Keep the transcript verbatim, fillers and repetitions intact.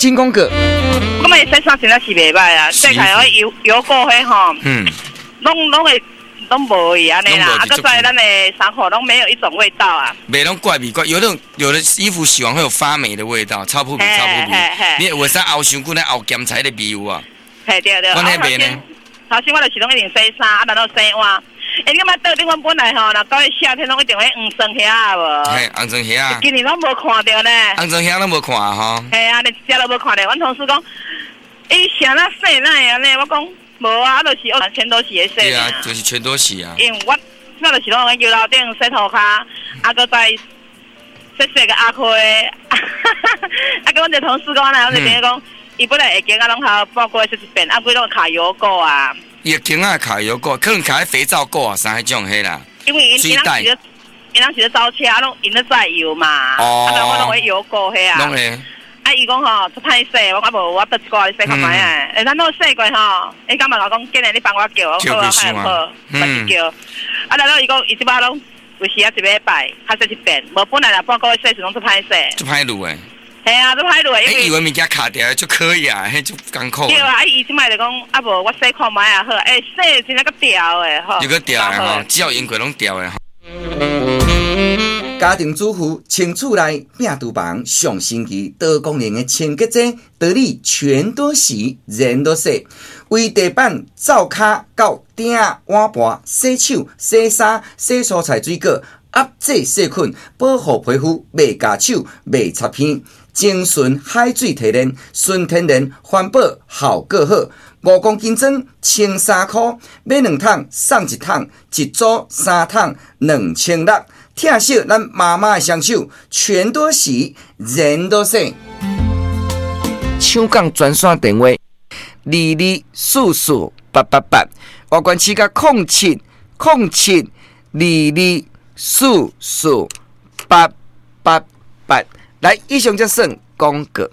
請講過。我感覺洗衫真正是袂歹啊，洗起來油油垢彼吼，嗯，攏攏會攏無去按呢啦，啊，閣再咱的衫褲攏沒有一種味道啊。袂攏怪味怪，有那種有的衣服洗完會有發霉的味道，臭撲鼻臭撲鼻。你有啥後傷久咧後鹹菜的味有啊？嘿對對。阮彼袂呢？頭先我就是攏一定洗衫，啊，然後洗碗。欸，你感覺桌頂阮本來吼，若到夏天攏一定會黃霜蝦無？嘿，紅霜蝦。今年攏無看著呢。紅霜蝦攏無看吼。嘿啊，連一隻都無看著。阮同事講，伊啥那洗哪會按呢？我講無啊，就是全都洗的洗。對啊，就是全都洗啊。因為我我就是攏用油樓頂洗塗跤，啊，閣再洗洗個阿虧。啊，佮阮一個同事講咧，阮一個朋友講，伊本來會經啊，攏好半個月洗一遍，啊，規攏卡油垢啊。伊個鏡仔卡油垢，可能卡肥皂垢啊，啥彼種彼啦。因為𪜶𪜶攏是𪜶攏是咧走車，攏𪜶咧載油嘛。哦。啊，我攏會油垢彼啊。攏會。啊，伊講吼，足歹洗，我講無，我倒一寡咧洗看覓啊。欸，咱攏洗過吼，伊感覺我講，今日你幫我叫，我好啊，好，嘛是叫。啊，然後伊講，伊這擺攏有時啊一禮拜較洗一遍，無本來若半個月洗時攏足歹洗。足歹攄的。嘿啊，足歹攄的。欸，以為物件卡掉就可以啊，彼足艱苦。對啊，啊伊這擺就講，啊無我洗看覓啊好，欸，洗真正閣掉的吼。又閣掉的吼，只要用過攏掉的吼。家庭主婦穿厝內摒廚房上神奇多功能的清潔劑，得力全都洗，人都洗。為地板、灶跤到鼎碗盤、洗手、洗衫、洗蔬菜水果、壓制細菌、保護皮膚，袂鉸手、袂擦邊，精純海水提煉，純天然環保，效果好。五公斤裝，千三箍，買兩桶送一桶，一組三桶兩千六。疼惜咱媽媽的雙手，全都洗，人都洗。搶購專線電話：二二四四八八八，外縣市佮空七空七二二四四八八八。來，以上才算廣告。